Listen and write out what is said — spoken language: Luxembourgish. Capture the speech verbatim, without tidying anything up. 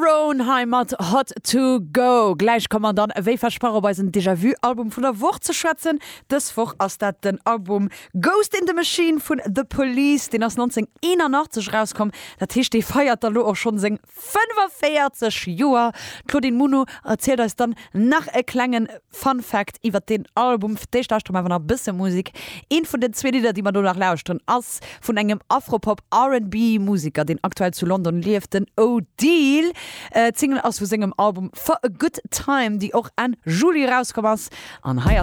Tyrone hei mat Hot to Go. Gläich komme mer dann wéi versprach op eisen Déjà-vu Album vun der Woch ze schwätzen. Dës Woch ass dat den Album Ghost in the Machine vun The Police, deen ass neunzehnhunnerteinundachtzeg rauskomm. Dat heescht, dee feiert da lo och schonn seng fënnefvéierzeg Joer. D'Claudine Muno erzielt eis dann nach e klengen Fun Fact iwwer den Album. Fir d'éischt lauschtere mer awer nach e bësse Musek. Eent vun den zwee Lidder, déi mer do nach lauschteren, ass vun engem Afropop R and B Musiker, deen aktuell zu London lieft, den Odeal. Äh, d'Single ass vu sengem Album For a Good Time, déi och Enn Juli rauskomm ass. An hei ass